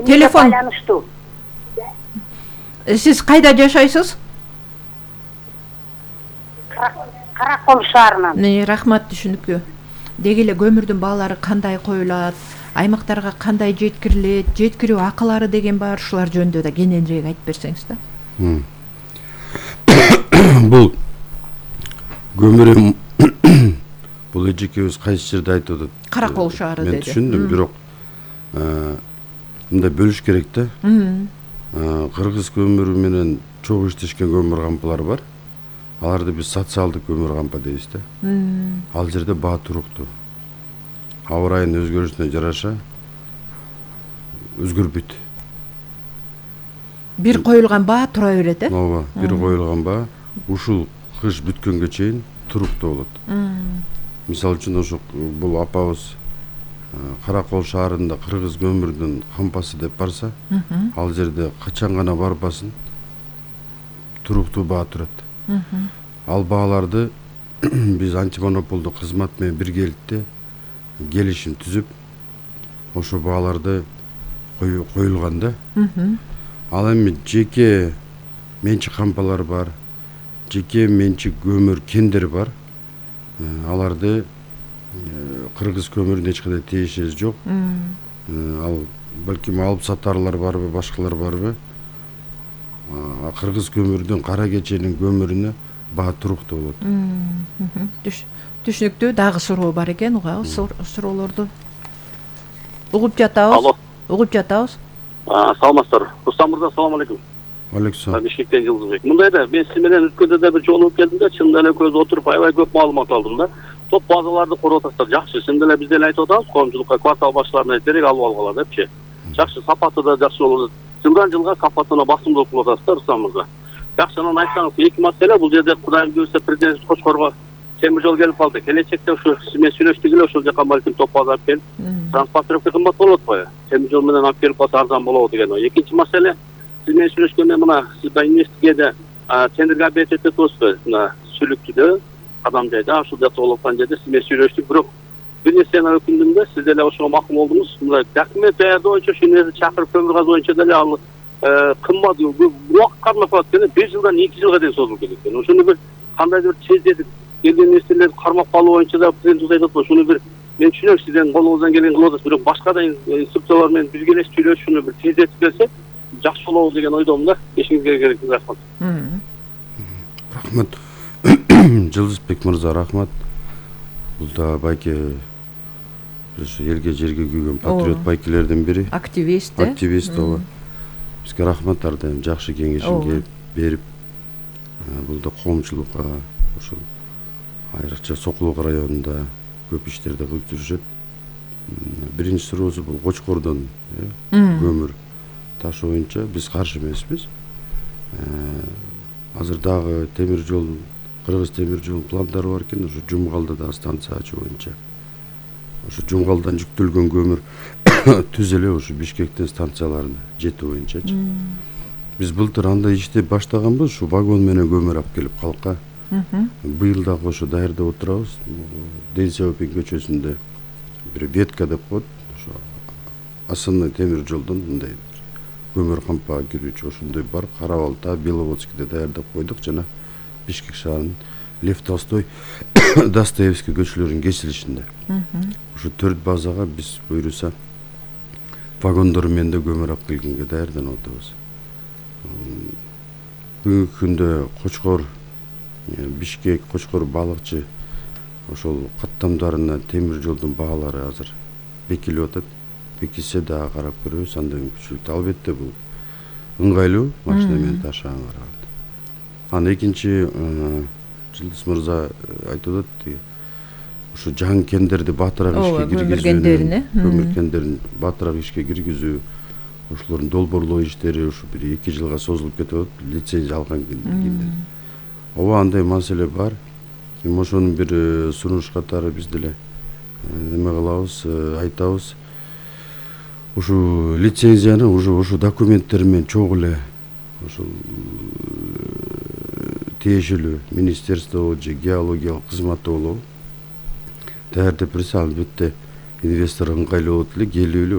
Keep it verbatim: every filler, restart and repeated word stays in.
Телефон байланыштуу. Сиз кайда жашайсыз? Каракол шаарынан. Не, рахмат, түшүнүктүү. Деги эле көмүрдүн баалары кандай коюлат, аймактарга кандай жеткирилет, жеткирүү акылары деген бар, ушулар жөнүндө да кененирээк айтып берсеңиз да. Бул көмүр бул эжекебиз кайсы жерде айтып атат? Каракол шаары деди. Мен түшүндүм, бирок мындай бөлүш керек да. Кыргыз көмүрү менен чогуу иштешкен көмүр кампалар бар. Аларды биз социалдык көмүр кампа дейбиз да. Ал жерде баа туруктуу. Аба ырайынын өзгөрүшүнө жараша өзгөрбөйт. Бир коюлган баа тура берет, э? Ооба, бир коюлган баа ушул кыш бүткөнгө чейин туруктуу болот. Мисалы үчүн ошо бул апабыз Каракол шаарында кыргыз көмүрдүн кампасы деп барса, ал жерде качан гана барбасын туруктуу баа турат. Ал бааларды биз антимонополдук кызмат менен биргеликте келишим түзүп, ошо бааларды коюлган да. Ал эми жеке менчик кампалар бар, жеке менчик көмүр кендер бар. Аларды кыргыз көмүрүнө эч кандай тиешеси жок. Ал балким алып сатарлар барбы, башкалар барбы? Кыргыз көмүрдүн кара кеченин көмүрүнө баа туруктуу болот. Түшүнүктүү. Дагы суроо бар экен, угабыз суроолорду. Угуп жатабыз. Алло. Угуп жатабыз. Саламатсыздар. Рустам мырза, салам алейкум. Алейкум. Бишкектен Жылдызбек. Мындай да, мен сиз менен өткөндө да бир жолугуп келдим да, чындап эле экөөбүз отуруп аябай көп маалымат алдым да. Топ базаларды куруп атасыздар, жакшы. Чындап эле биз деле айтып атабыз, коомчулукка квартал башчыларына терек алып алгыла депчи. Жакшы, сапаты да жакшы болот. Жылдан жылга сапатына басымдуулук кылып атасыздар, Рустам мырза. Жакшы, анан айтсаңыз, эки маселе бул жерде Кудайым буйрса президент Кочкорго темир жол келип калды. Келечекте ушу мен сүйлөштүк эле, ошол жака балким топ база алып келип, транспортировка кымбат болот го. Темир жол менен алып келип калса арзан болобу деген ой. Экинчи маселе, сиз менен сүйлөшкөндө мына сиз да инвестигеде тендерге объект өтөп атасызбы? Мына Сүлүктүдө, Кадам жайда, ушул жакта болуп аткан жерде сиз менен сүйлөштүк, бирок бир нерсени өкүндүм да, сиз деле ошого макул болдуңуз. Мына документ даярдоо боюнча ушу нерсе чакырып көмүр казуу боюнча деле ал кымбат, убакыт кармап калат экен, бир жылдан эки жылга чейин созулуп кетет экен. Ошону бир кандайдыр тездетип келген нерселерди кармап калуу боюнча да президент айтып атат. Ушуну бир мен түшүнөм, сизден колуңуздан келген кылып атасыз, бирок башка да инструкциялар менен бирге эле сүйлөшүп, ушуну бир тездетип келсе жакшы болобу деген ойдомун да. Эшиңизге керек, рахмат. Рахмат. Жылдызбек мырза, рахмат. Бул да байке ошо элге жерге күйгөн патриот байкелердин бири. Активист, э? Активист, ооба. Бизге рахмат, ар дайым жакшы кеңешин берип, бул да коомчулукка ошол айрыкча Сокулук районунда көп иштерди кылып жүрүшөт. Биринчи суроосу бул Кочкордон көмүр ташуу боюнча биз каршы эмеспиз. Азыр дагы темир жол, Кыргыз темир жолунун пландары бар экен, ошо Жумгалда да станция ачуу боюнча. Ошо Жумгалдан жүктөлгөн көмүр түз эле ошо Бишкектин станцияларына жетүү боюнчачы. Биз былтыр андай ишти баштаганбыз, ушу вагон менен көмүр алып келип калкка. Быйыл дагы ошо даярдап отурабыз. Ден Сяопин көчөсүндө бир ветка деп коет, ошо основной темир жолдон мындай көмүр кампага кирүүчү ошондой бар. Кара-Балта, Беловодскийде даярдап койдук жана Бишкек шаарынын Лев Толстой, Достоевский көчөлөрүнүн кесилишинде. Ошо төрт базага биз буйруса вагондор менен да көмүр алып келгенге даярданып атабыз. Бүгүнкү күндө Кочкор, Бишкек, Кочкор, Балыкчы ошол каттамдарына темир жолдун баалары азыр бекилип атат. Бекисе дагы карап көрөбүз, анда мүмкүнчүлүктүү. Албетте бул ыңгайлуу машина менен ташаганга караганда. Анан экинчи Жылдыз мырза айтып атат, ушу жаңы кендерди батыраак ишке киргизүү, көмүр кендерин батыраак ишке киргизүү, ошолордун долбоорлоо иштери ушу бир эки жылга созулуп кетип атат, лицензия алган кийин. Ооба, андай маселе бар. Эми ошонун бир сунуш катары биз деле неме кылабыз, айтабыз. Ушу лицензияны уже ушу документтер менен чогуу эле ошол тиешелүү министерство же геологиялык кызматты болобу даярдап берсе, албетте инвестор ыңгайлуу болот эле, келип эле